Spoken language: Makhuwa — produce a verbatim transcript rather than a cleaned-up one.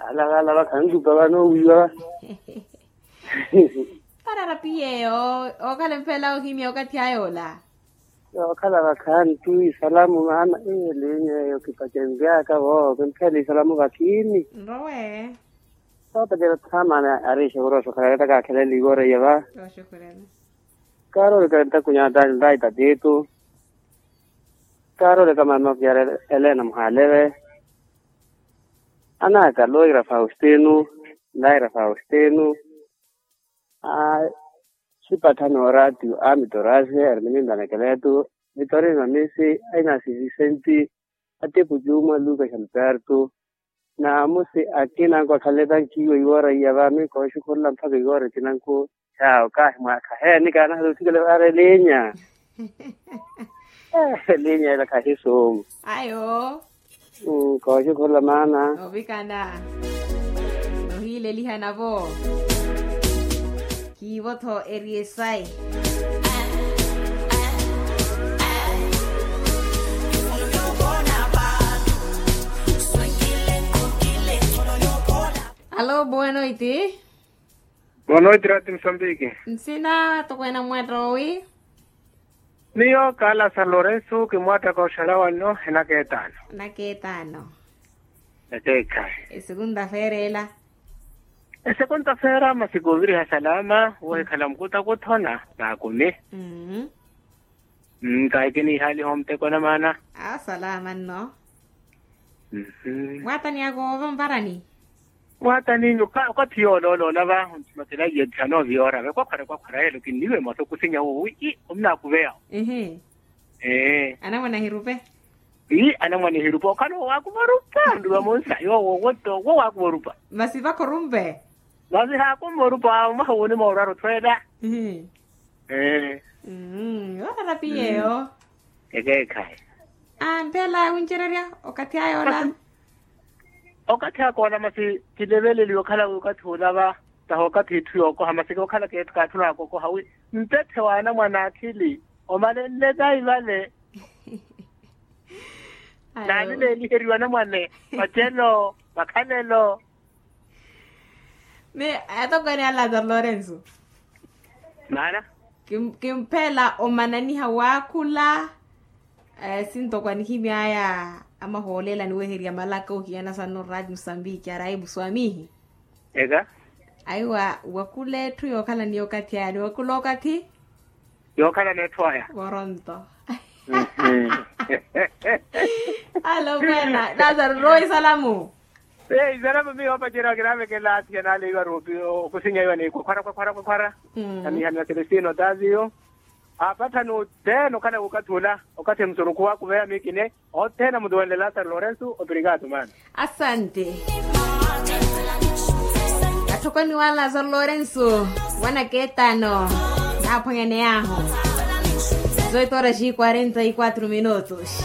Alakhala vakhantupa vano wiiwa. Parara piyeyo. Okhala mphela ohimya okathi ayola. Okhala vakhantu isalamu maana. Elinya eyo kipachenryaka vo kimphela isalamu vakhini. Nrowe. Sopetela thamana arixe voroso khala kata kakhelele ivoreya va. Kaarole ka ntakunya tani ndaita titu. Kaarole ka mama fiara elena muhaleve. Anaka loira faustino. Laira faustino. Aa. Sipathani oratiu amitorasi ermini ndanekeletu. Vitorino misi. Ainasi visenti. Atipu juma luka xalpertu. Naamusi akinanku akhaleta nkiiwa iwoora iya vaami kooxukhurula mpakha iwoora ekinanku. Xaawo kaahimwaakha heeni kaanahala othikela vaara elinya. Elinya ela khahi suumu. Ayo. Kooxukhurula maana. Ovikana. Nohiilelihana vo. Kiivo-tho eri esayi. Alo boa noiti. Boa noiti rati musambiki. Nsina tokwena mwatta owi. Miyo kala san lorenso kimwattaka oxalawa nno enaka etaano. Enaka etaano. Ekeekhayi. Esekunta feera ela. Esekunta feera masi kuuviriha salama wohikhala mukutakutho na naakumi. Mmm. Kahi kiniihaliha omuteko na maana. Asalama nno. Mwaatani ako ova mvarani. Mwaatani okathi yoolooloola va onthimathela iye thano viyoora ve kwakhwara kwakhwara yelo kinniwe mwattho kusinya wo wi i omunaakuveya. Ee. Anamwane ahirupe. Ii anamwane ahirupe okhala owaakuva orupa nduva monsa yoowo woto wowaakuva orupa. Masi vakha orumpe. Masi haakumva orupa awo mwaha woni moorwara othweela. Ee. Mmm yoorara piyeyo. Ekeekhayi. Aa mphela wuncererya okathi aya ola. Okathi aka ola masi kileveleliwe okhala wi okathi ola va taha okathi etthu yookoha masi okhala kaatthuna akokoha wi mpetthe wa anamwane akhili omalenle tayi vale. Naani neeliheriwa anamwane vacelo vakhalelo. Ni atokwene a lazaro lorenso. Maana. Kimphela omananiha waakhula. Sintokwani himyaya amahoolela niweherya malaka ohiyana sanno rati musambiki araibu swamihi. Eka. Aiwa wakula etthu yookhala ni okathi aya niwakula okathi. Yookhala n'etthu aya. Voronto. Alo mwena lazaro rowa isalamu. Ee isalamu miyo opaceriwa kinaavekela athiya naaleiwa rupi okusinya iwa ni kwakhwara kwakhwara kwakhwara. Aniha ni aselestino taviyo. Apathani othene okhala okathi ola okathi emusurukhu wakuveya mikine othene amutuwenle lazaro lorenso obrigado maana. Asante. Athokwani wa lazaro lorenso wanaketano naaphwanyane ahu. Zoito horas e quarenta e quatro minutos.